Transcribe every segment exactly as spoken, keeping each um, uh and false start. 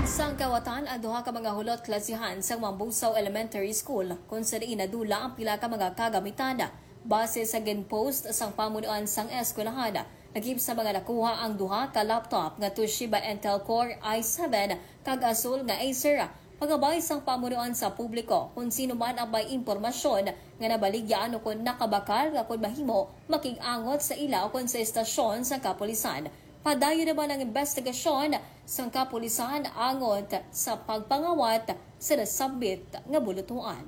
Sang kawatan ang duha ka mga hulot klasihan sang Mambusaw Elementary School, kung sa diin nadula ang pila ka mga kagamitan. Base sa ginpost sang pamunuan sang eskwelahan, lakip sa mga nakuha ang duha ka laptop nga Toshiba Intel Core i seven kag Asus nga Acer. Pagabay sang pamunuan sa publiko, kung sino man ang may impormasyon nga nabaligya ukon nakabakal nga kon mahimo, makig-angot sa ila ukon sa estasyon sang kapulisan. Padayon naman ang investigasyon sang kapulisan angot sa pagpangawat sa nasambit nga bulutuan.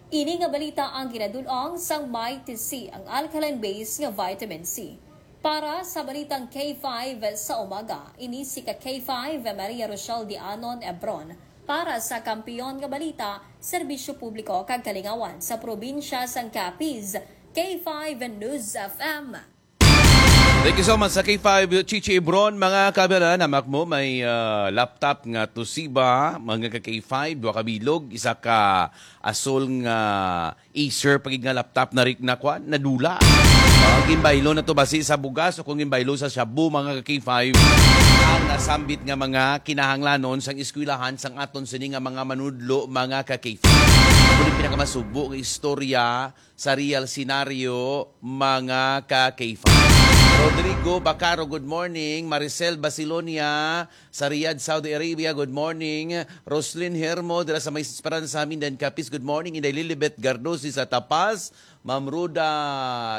Ini nga balita ang ginadul-ong sang Mighty C, ang alkaline base nga vitamin C. Para sa balitang K five sa umaga, ini si ka K five Maria Rochelle Dianon Ebron. Para sa Kampiyon nga Balita, Serbisyo Publiko kag Kalingawan sa Probinsya sang Capiz, K five News F M. Thank you so much sa K five, Chichi Ebron. Mga kababayan, hamak mo, may, ah, laptop nga Toshiba, mga ka K five, duha ka bilog, isa ka Asus nga Acer, pagid nga laptop na rik na kwan, nadula. Ah, ginbaylo na to basi sa bugas o kung ginbaylo sa shabu, mga ka K five, ang nasambit nga mga kinahanglanon sang eskwelahan sang aton sini nga mga manudlo, mga ka K five. Amo ni pinakamasubo nga istorya sa real scenario, mga ka K five. Rodrigo Bacaro, good morning. Maricel Basilonia, sa Riyadh, Saudi Arabia, good morning. Roslyn Hermo, dira sa may Esperanza, Mindan, Capiz, good morning. Inday Lilibet Gardosi sa Tapas. Ma'am Ruda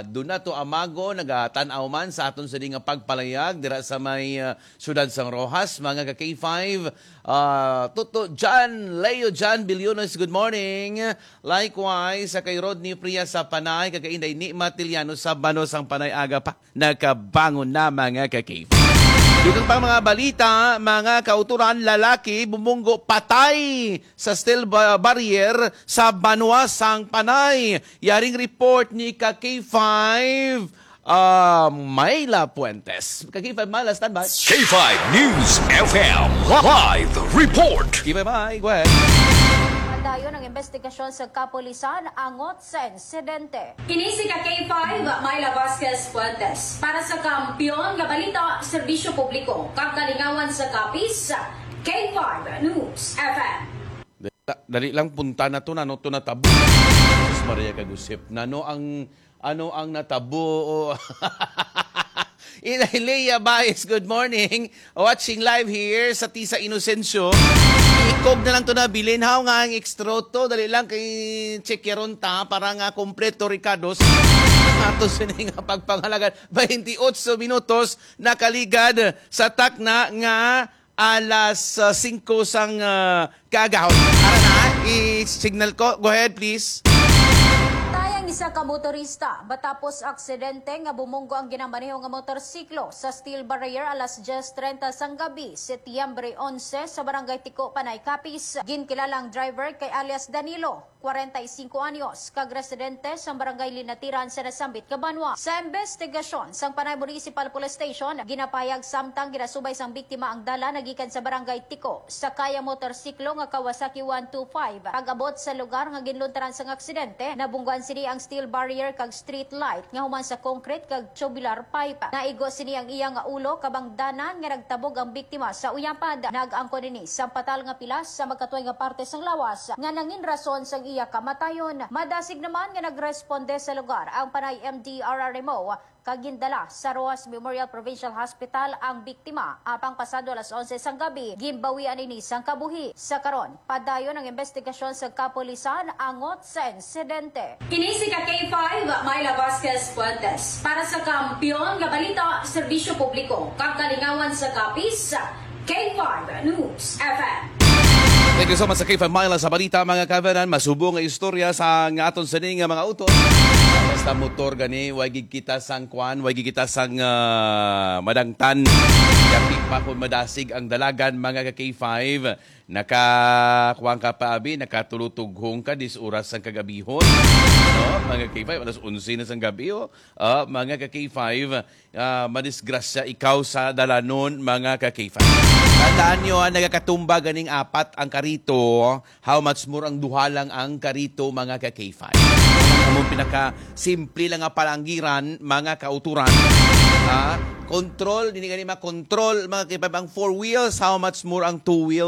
Donato Amago, nagatan-aw man sa aton sini nga pagpalayag dira sa may, ah, siyudad sang Roxas, mga ka K five. Ah, Toto John, Leo John Bilyones, good morning. Likewise, sa kay Rodney Priya sa Panay, kag kay Inday Ni Matiliano sa Bano sang Panay, aga pa nakabangon na, mga ka-K five. Dugang pang mga balita, mga kauturan, lalaki bumunggo patay sa steel ba-, barrier sa Banwa sang Panay. Yaring report ni ka K five, ah, Myla Puentes. Ka K five Myla, standby. K five News F M live report. K five Myla, go ahead. Padayon ang investigasyon sa kapulisan angot sa insidente. Kini si ka K five, Myla Vasquez Fuentes. Para sa Kampiyon nga Balita, Serbisyo Publiko, kag Kalingawan sa Capiz, K five News F M. Dali, dali lang, punta na to, nano to natabo. Jesus Maria, kagusip. Nano ang, ano ang natabo? O, Inday Lea Baez, good morning. Watching live here sa Tisa Inocencio. Ikog na lang to na bilin. Haw nga ang extra to. Dali lang kay check yaron ta para nga kompleto, Ricardos. Ato sini nga pagpangalagan. Twenty-eight minutos nakaligad sa takna nga alas, ah, singko sang, ah, kaagahon. Ara na, i-signal ko. Go ahead, please. Patay ang isa ka motorista matapos aksidente nga bumunggo ang ginamaneho nga motorsiklo sa steel barrier alas diyes treinta sang gabi, Setyembre onse, sa Barangay Tiko, Panay, Capiz. Ginkilala ang driver kay alias Danilo, kwarenta y cinco anyos, kag residente sa Barangay Linatiran sa nasambit nga banwa. Sa investigasyon sang Panay Municipal Police Station, ginapahayag samtang ginasubay sang biktima ang dalan nagikan sa Barangay Tiko, sakay ang motorsiklo nga Kawasaki one two five. Pag-abot sa lugar nga ginluntaran sang aksidente, nabungguan sini ang steel barrier kag street light nga human sa concrete kag tubular pipe. Naigo sini ang iya nga ulo, kabangdanan nga nagtabog ang biktima sa uyapad. Nag-angkon ini sang patal nga pilas sa magkatway nga parte sang lawas nga nangin rason sang iya kamatayon. Madasig naman nga nagresponde sa lugar ang Panay M D R R M O kag gindala sa Roxas Memorial Provincial Hospital ang biktima, apang pasado alas onse sang gabi, ginbawian ini sang kabuhi. Sa karon, padayon ang investigasyon sa kapulisan angot sa insidente. Kini si ka K five, Myla Vasquez Fuentes. Para sa Kampiyon nga Balita, Serbisyo Publiko, kag Kalingawan sa Capiz, K five News F M. Thank you so much sa K five Myla sa balita, mga kababayan. Masubo nga istorya sa nga aton sini nga mga utot. Basta motor gani, way gid kita sang kwan, way gid kita sang, ah, madangtan. Kapi pa kung madasig ang dalagan, mga ka K five. Naka, kuwan ka pa, abi, nakatulotughong ka, dis oras sang kagabihon. No? Mga K five, alas onse na sang gabi, oh. Ah, mga ka K five, ah, madisgrasya ikaw sa dalanon, mga ka K five. Tandaan nyo, ah, nagakatumba ganing apat ang karito, how much more ang duha lang ang karito, mga ka K five. Ang among pinaka simple lang nga palanggiran, mga kauturan. Ah, control, dili gani makontrol, mga K five, ang four wheels, how much more ang two wheels.